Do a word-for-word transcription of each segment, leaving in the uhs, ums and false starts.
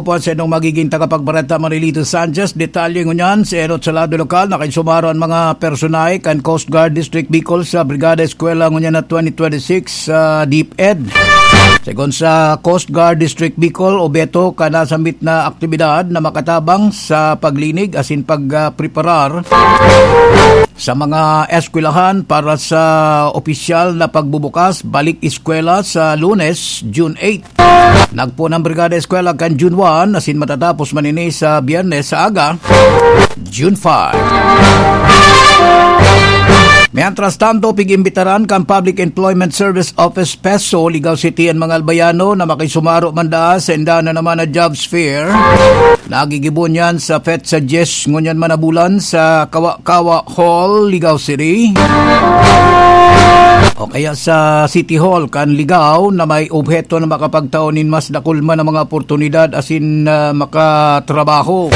Puan sa inyong magiging tagapagbareta, Marilito Sanchez. Detalye ngunyan, sa enot sa lado lokal, nakaisumaro ang mga personahe kan Coast Guard District Bicol sa Brigada Eskwela ngunyan na twenty twenty-six sa DepEd. Segun sa Coast Guard District Bicol, obheto kan nasambit na aktibidad na makatabang sa paglinig asin pagpreparar sa mga eskwelahan para sa opisyal na pagbubukas balik eskwela sa Lunes, June eight. Nagpoon ang Brigada Eskwela kan June one, asin matatapos man ini sa Biyernes sa aga, June five. Mientras tanto, pig-imbitaran kan Public Employment Service Office, PESO, Ligao City an mga Albayano na makisumaro man daa sa inda na naman na jobs fair. Nagigibo niyan sa petsa dyes ngunyan man na bulan sa Kawa-Kawa Hall, Ligao City. O kaya sa City Hall kan Ligao na may obheto na makapagtao nin mas dakul man na mga oportunidad asin, ah, makatrabaho.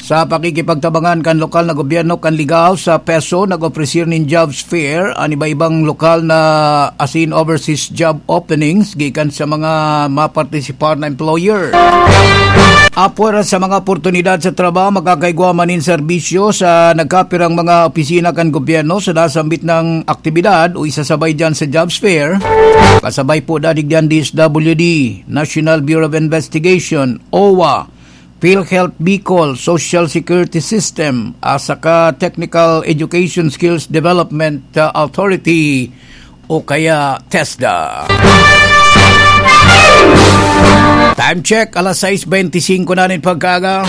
Sa pakikipagtabangan kan lokal na gobyerno kan Ligao sa PESO, nag-ofrecer nin jobs fair an iba-ibang lokal na asin overseas job openings gikan sa mga mapartisipar na employer. Apwera sa mga oportunidad sa trabaho, makakaigwa man nin serbisyo sa nagkapirang mga opisina kan gobyerno sa nasambit na aktibidad o isasabay diyan sa jobs fair. Kasabay po dadig diyan D S W D, National Bureau of Investigation, OWWA, PhilHealth Bicol, Social Security System, at saka Technical Education Skills Development, uh, Authority o kaya TESDA. Time check, alas sais beintisinko na nin pagkaaga.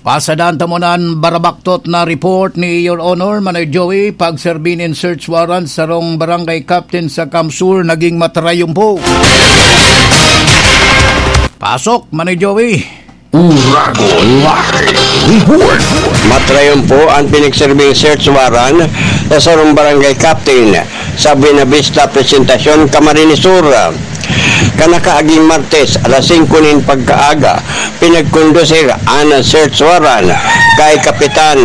Pasadan ta muna an barabaktot na report ni Your Honor, Manoy Joey, pagserbi nin search warrant sarong barangay captain sa Kamsur naging matarayumpo. Pasok, Manoy Joey. Uragon Live Report. Matarayumpo an pinagserbing search warrant sa sarong barangay captain sa Buenavista Presentacion, Camarines Sur. Kan nakaaging Martes, alas singko nin pagkaaga, pinagkondusir an search warrant kay Kapitan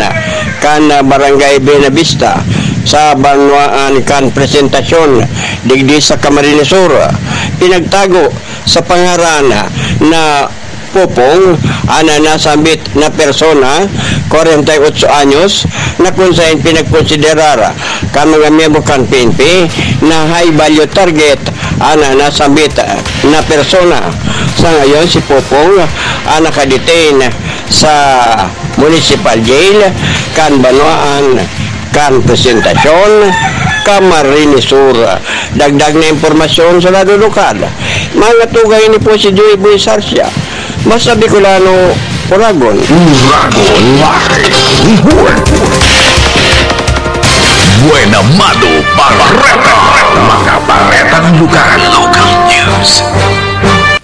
kan Barangay Buenavista sa banwaan kan Presentacion, digdi sa Camarines Sur. Pinagtago sa pangaran na Popong an nasambit na persona, kwarenta y otso anyos, na kun saen pinagkonsiderar kan mga miyembro kan P N P na high value target an nasambit na persona. Sa ngayon, si Popong an nakadetain sa Municipal Jail kan banwaan kan Presentacion, Camarines Sur. Dagdag na impormasyon sa lado lokal. Mga tugay ni po si Joey Boy Sarsia. Basta Bicolano, Uragon. Uragon Live Report. Buena Mano Bareta. Mga baretang lokal. Local news.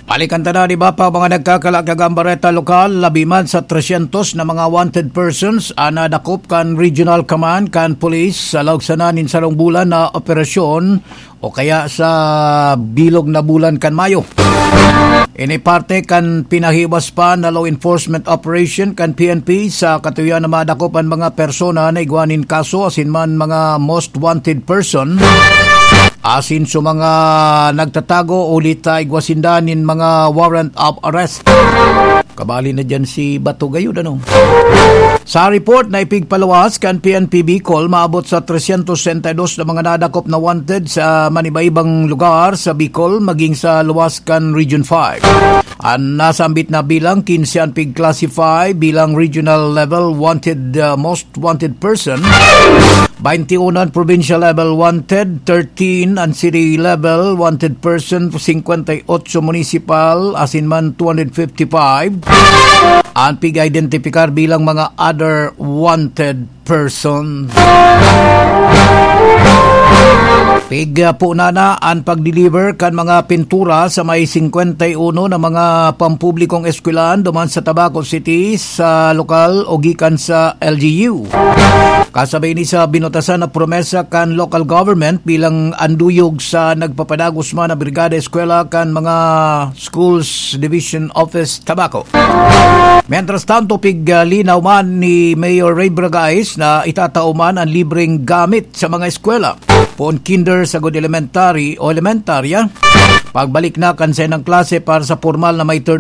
Balikan ta na, di ba, pa mga nagkakalaag kan bareta lokal, labi man sa tresyentos na mga wanted persons an nadakop kan Regional Command kan Police sa laog sana nin sarong bulan na operasyon o kaya sa bilog na bulan kan Mayo. Ini parte kan pinahiwas pa na law enforcement operation kan P N P sa katuyoan na madakop an mga persona na igwa nin kaso asin man mga most wanted person. Asin sa mga nagtatago, huli ta igwa sinda nin mga warrant of arrest. Kabali na diyan si Bato gayud, ano? Sa report na ipigpaluwas kan P N P Bicol, maabot sa tresyentos sesenta y dos na mga nadakop na wanted sa maniba-ibang lugar sa Bicol, maging sa luwas kan Region five. An nasambit na bilang, kinse an pig-classify bilang regional level wanted, uh, most wanted person, bainti uno an provincial level wanted, thirteen an city level wanted person, singkwenta y otso municipal, asin man two hundred fifty-five an pig-identifikar bilang mga other wanted person. Pig, ah, po na na an pag-deliver kan mga pintura sa may singkwenta y uno na mga pampublikong eskwelahan duman sa Tabaco City sa lokal o gikan sa L G U. Kasabay ni sa binutasan na promesa kan local government bilang anduyog sa nagpapadagos man na brigada eskwela kan mga Schools Division Office, Tabaco. Mientras tanto, piglinaw man ni Mayor Ray Bragais na itatao man ang libreng gamit sa mga eskwela, poon kinder sagod elementary o elementarya. Pagbalik na kan sainang klase para sa pormal na may turn